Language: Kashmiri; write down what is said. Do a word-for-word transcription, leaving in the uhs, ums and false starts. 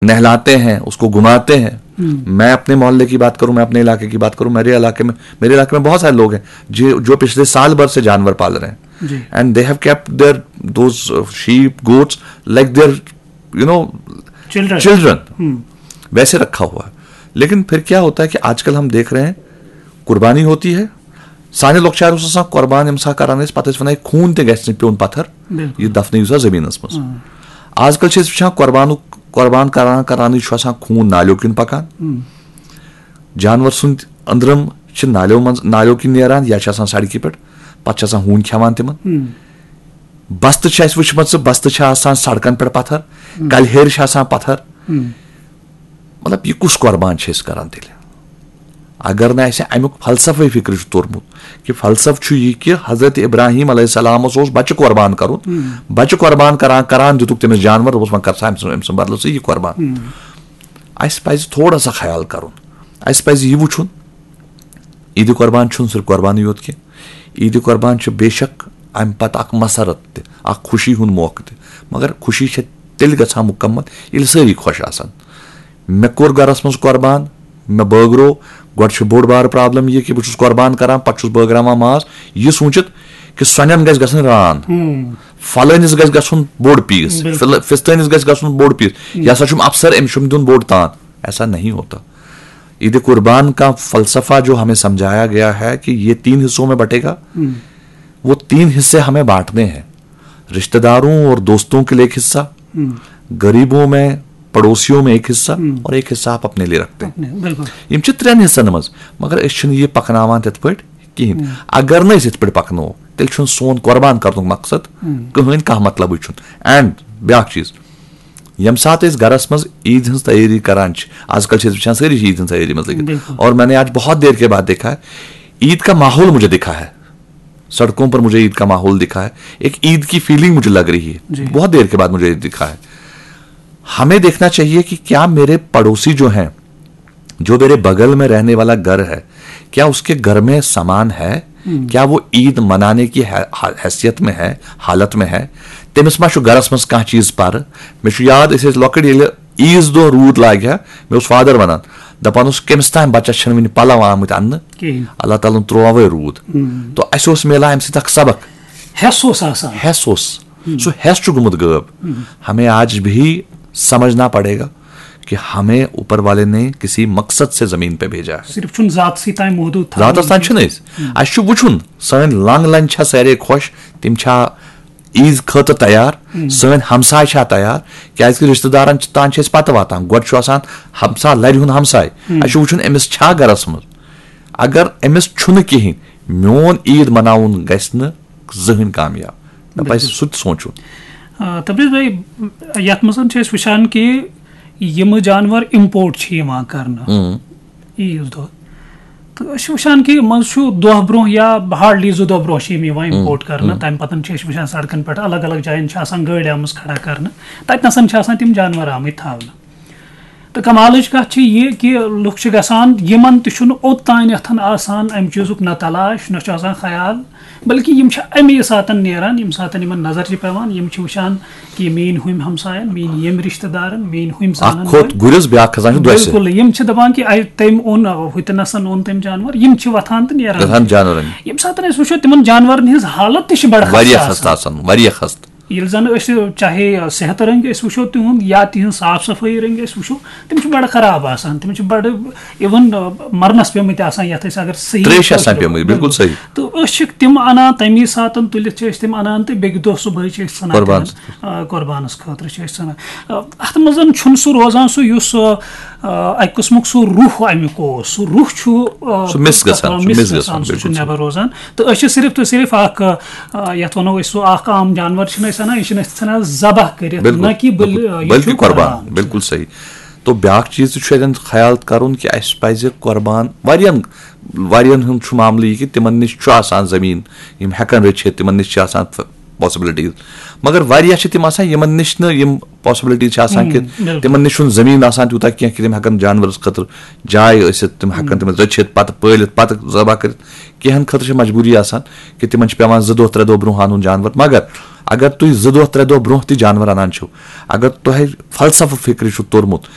नहलाते हैं, उसको घुमाते हैं। मैं अपने मोहल्ले की बात करूं, मैं अपने इलाके की बात करूं, मेरे इलाके में मेरे इलाके में बहुत सारे लोग हैं जो जो पिछले साल भर से जानवर पाल रहे हैं। जी। And they have kept their those sheep, goats like their you know Children. Children. वैसे रखा हुआ है। लेकिन फिर क्या होता है कि आजकल हम देख रहे हैं, कुर्बानी होती है, سانہِ لۄکچارٕ اوس آسان قۄربان ییٚمہِ ساتہٕ کران ٲسۍ، پتہٕ ٲسۍ ونان، "یہِ خوٗن تہِ گژھِ نہٕ پیوٚن پتھر، بِلکُل۔ یہِ دفنٲیِو سا زٔمیٖنَس منٛز۔" آزکل چھِ أسۍ وٕچھان قۄربانُک، قۄربان کران کرانٕے چھُ آسان خوٗن نالیو کِنۍ پکان۔ جانور سُنٛد أنٛدرم چھِ نالیو منٛز، نالیو کِنۍ نیران یا چھِ آسان سڑکہِ پٮ۪ٹھ، پتہٕ چھِ آسان ہوٗنۍ کھٮ۪وان تِمن۔ بستہٕ چھِ اَسہِ وٕچھمژٕ، بستہٕ چھِ آسان سڑکن پٮ۪ٹھ پتھر، کلہٕ ہیٚرِ چھِ آسان پتھر۔ مطلب، یہِ کُس قۄربان چھِ أسۍ کران تیٚلہِ؟ اگر نہٕ اَسہِ اَمیُک فلسفے فکرِ چھُ توٚرمُت کہِ فلسفہٕ چھُ یہِ کہِ حضرت ابراہیم علیہ السلامس اوس بچہِ قۄربان کرُن، بچہِ قۄربان کران کران دِتُکھ تٔمِس جانور، دوٚپُس، "وۄنۍ کر سا أمۍ سٕنٛد، أمۍ سٕنٛدِ بدلہٕ ژٕ یہِ قۄربان۔" اَسہِ پزِ تھوڑا سا خیال کرُن، اَسہِ پزِ یہِ وٕچھُن، عیٖدِ قۄربان چھُنہٕ صرف قۄربانٕے یوت کینٛہہ۔ عیٖدِ قۄربان چھُ بے شک اَمہِ پتہٕ اکھ مسرت تہِ، اکھ خوشی ہُنٛد موقعہٕ تہِ، مگر خوشی چھےٚ تیٚلہِ گژھان مُکمل ییٚلہِ سٲری خۄش آسن۔ مےٚ کوٚر گرس منٛز قۄربان، مےٚ بٲگرو، گۄڈٕ چھُ بوٚڑ بارٕ پرابلم یہِ کہِ بہٕ چھُس قۄربان کران، پتہٕ چھُس بٲگراوان ماز، یہِ سوٗنٛچِتھ کہِ سۄنٮ۪ن گژھِ گژھٕنۍ ران، فلٲنِس گژھِ گژھُن بوٚڑ پیٖس، بِلکُل۔ فِل-، فِستٲنِس گژھِ گژھُن بوٚڑ پیٖس، یہِ ہسا چھُم افسر، أمِس چھُم دیُن بوٚڑ تان۔ ایسا نہیں ہوتا۔ عید قربان کا فلسفہ جو ہمیں سمجھایا گیا ہے کہ یہ تین حصوں میں بٹے گا، وہ تین حصے ہمیں بانٹنے ہیں۔ رشتہ داروں اور دوستوں کے لیے ایک حصہ، غریبوں میں، پڑوسیوں میں ایک حصہ، اور ایک حصہ آپ اپنے لیے رکھتے ہیں۔ اپنے، بِلکُل۔ یِم چھِ ترٛٮ۪ن حصن منٛز، مگر أسۍ چھِنہٕ یہِ پکناوان تِتھ پٲٹھۍ کِہیٖنۍ۔ اگر نہٕ أسۍ یِتھ پٲٹھۍ پکناوو، تیٚلہِ چھُنہٕ سون قۄربان کرنُک مقصد کٕہٕنۍ، کانٛہہ مطلبٕے چھُنہٕ۔ اینڈ بیٛاکھ چیٖز، ییٚمہِ ساتہٕ أسۍ گرس منٛز عیٖد ہٕنٛز تیٲری کران چھِ، آز کل چھِ أسۍ وٕچھان سٲری چھِ عیٖد ہٕنٛز تیٲری منٛز لٔگِتھ۔ بِلکُل۔ اور میں نے آج بہت دیر کے بعد دیکھا ہے، عید کا ماحول مجھے دکھا ہے، سڑکوں پر مجھے عید کا ماحول دکھا ہے، ایک عید کی فیلنگ مجھے لگ رہی ہے۔ جی۔ بہت دیر کے بعد مجھے یہ دکھا ہے۔ ہمیں دیکھنا چاہیے کہ کیا میرے پڑوسی جو ہیں، جو میرے بغل میں رہنے والا گھر ہے، کیا اس کے گھر میں سامان ہے؟ کیا وہ عید منانے کی حی-، حیثیت میں ہے، حالت میں ہے؟ تٔمِس ما چھُ گرس منٛز کانٛہہ چیٖز پرٕ؟ مےٚ چھُ یاد، أسۍ ٲسۍ لۄکٕٹۍ، ییٚلہِ عیٖذ دۄہ روٗد لاگہِ ہا، مےٚ اوس فادر ونان، دپان اوس، "کٔمِس تام بچس چھِنہٕ وُنہِ پلو آمٕتۍ اننہٕ، کِہیٖنۍ۔ اللہ تعالیٰ ہن ترٛوو وۄنۍ روٗد۔" تو اسہِ اوس میلان امہِ سۭتۍ اکھ سبق۔ حٮ۪س اوس آسان۔ حٮ۪س اوس۔ سُہ حٮ۪س چھُ گوٚمُت غٲب۔ ہمیں آج بھی سمجھنا پڑے گا کہ ہمیں اوپر والے نے کسی مقصد سے زمین پہ بھیجا ہے۔ صرف چھُنہٕ ذاتسٕے تام محدوٗد تھاوُن۔ ذاتس تام چھِنہٕ أسۍ۔ اَسہِ چھُ وٕچھُن، سٲنۍ لنٛگ لنٛج چھا سارے خۄش، تِم چھا عیٖد خٲطرٕ تیار، سٲنۍ ہمساے چھا تیار، کیازِ کہِ رشتہٕ دارن چھِ، تام چھِ أسۍ پتہٕ واتان۔ گۄڈٕ چھُ آسان ہمسا، لرِ ہُنٛد ہمساے۔ اَسہِ چھُ وٕچھُن أمِس چھا گرس منٛز۔ اگر أمِس چھُنہٕ کِہیٖنۍ، میون عیٖد مناوُن گژھِ نہٕ زٕہٕنۍ کامیاب۔ مےٚ پزِ سُہ تہِ سونٛچُن۔ آ، تبریز بھائی، یتھ منٛز چھِ أسۍ وٕچھان کہِ یِم جانور import چھِ یِوان کرنہٕ عیٖذ دۄہ، تہٕ أسۍ چھِ وٕچھان کہِ منٛزٕ چھُ دۄہ برونٛہہ یا hardly زٕ دۄہ برونٛہہ چھِ یِم یِوان import کرنہٕ۔ تمہِ پتہٕ چھِ أسۍ وٕچھان سڑکن پٮ۪ٹھ الگ الگ جاین چھِ آسان گٲڑۍ آمٕژ کھڑا کرنہٕ، تتہِ نسن چھِ آسان تِم جانور آمٕتۍ تھاونہٕ۔ تہٕ کمالٕچ کتھ چھِ یہِ کہِ لُکھ چھِ گژھان، یِمن تہِ چھُنہٕ اوٚتانٮ۪تھ آسان امہِ چیٖزُک نہ تلاش، نہ چھُ آسان خیال، بلکہِ یِم چھِ اَمی ساتَن نیران، ییٚمہِ ساتَن یِمَن نظر چھِ پٮ۪وان، یِم چھِ وٕچھان کہِ یہِ میٛٲنۍ ہُمۍ ہمسایَن، میٛٲنۍ ییٚمۍ رِشتہٕ دارَن، میٛٲنۍ ہُمۍ زانَن اکھ کھوٚت وٲلۍ۔ گُرِس، بیٛاکھ کھسان چھُ دۄسہِ۔ بِلکُل، یِم چھِ دَپان کہِ اَتہِ تٔمۍ اوٚن، ہُتہِ نَسَن اوٚن تٔمۍ جانوَر، یِم چھِ وۄتھان تہٕ نیران۔ گژھان جانوَرَن۔ ییٚمہِ ساتَن أسۍ وٕچھو، تِمَن جانوَرَن ہٕنٛز حالت تہِ چھِ بَڑٕ خستہٕ واریاہ آسان۔ خستہٕ آسان، واریاہ خستہٕ۔ ییٚلہِ زَن أسۍ چاہے صحت رٔنٛگۍ أسۍ وٕچھو تِہُنٛد یا تِہِنٛز صاف صفٲیی رٔنٛگۍ أسۍ وٕچھو، تِم چھِ بَڑٕ خراب آسان، تِم چھِ بَڑٕ even، آ، مَرنَس پیٚمٕتۍ آسان، یَتھ أسۍ اگر صحیح ترٛیش آسان کٲشِر پیٚمٕتۍ، پٲٹھۍ بِلکُل صحیح۔ تہٕ أسۍ چھِکھ تِم اَنان تَمی ساتَن تُلِتھ چھِ أسۍ تِم اَنان تہٕ بیٚکہِ دۄہ صُبحٲے چھِ أسۍ ژھٕنان قۄربان۔ تِمَن، آ، قۄربانَس خٲطرٕ چھِ أسۍ ژھٕنان۔ آ، اَتھ منٛز چھُنہٕ سُہ روزان سُہ یُس، آ، آ، اَکہِ قٕسمُک سُہ روح اَمیُک اوس، سُہ روح چھُ، آ، سُہ miss گژھان، آ، سُہ چھُ miss بِلکُل گژھان، سُہ صحیح۔ چھُ نٮ۪بر روزان۔ تہٕ أسۍ چھِ صرف تہٕ صرف اَکھ، آ، یَتھ وَنو أسۍ سُہ اَکھ عام جانوَر چھِنہٕ أسۍ اَنان، یہِ چھِنہٕ أسۍ ژھٕنان ذبح کٔرِتھ، بِلکُل، نہ کہِ بٔلۍ، بِلکُل، آ، یہِ بٔلکہِ چھُ قۄربان، قۄربان۔ بِلکُل صحیح۔ تو بیٛاکھ چیٖز تہِ چھُ اَتٮ۪ن خیال کَرُن کہِ اَسہِ پَزِ قۄربان، واریاہَن، واریاہَن ہُنٛد چھُ معاملہٕ یہِ کہِ تِمَن نِش چھُ آسان زٔمیٖن، یِم ہٮ۪کَن رٔچھِتھ، تِمَن نِش چھِ آسان possibilities، مگر واریاہ چھِ تِم آسان، یِمَن نِش نہٕ یِم possibilities چھِ آسان کہِ بِلکُل۔ تِمَن نِش چھُنہٕ زٔمیٖن آسان تیوٗتاہ کینٛہہ کہِ تِم ہٮ۪کَن جانوَرَس خٲطرٕ جاے ٲسِتھ، تِم ہٮ۪کَن تِمَن رٔچھِتھ، پَتہٕ پٲلِتھ، پَتہٕ ذبح کٔرِتھ۔ کینٛہَن خٲطرٕ چھِ مجبوٗری آسان کہِ تِمَن چھِ پٮ۪وان زٕ دۄہ، ترٛےٚ دۄہ برونٛہہ اَنُن جانوَر۔ مگر اگر تُہۍ زٕ دۄہ، ترٛےٚ دۄہ برونٛہہ تہِ جانوَر اَنان چھِو، اگر تۄہہِ فلسفہٕ فِکرِ چھُ توٚرمُت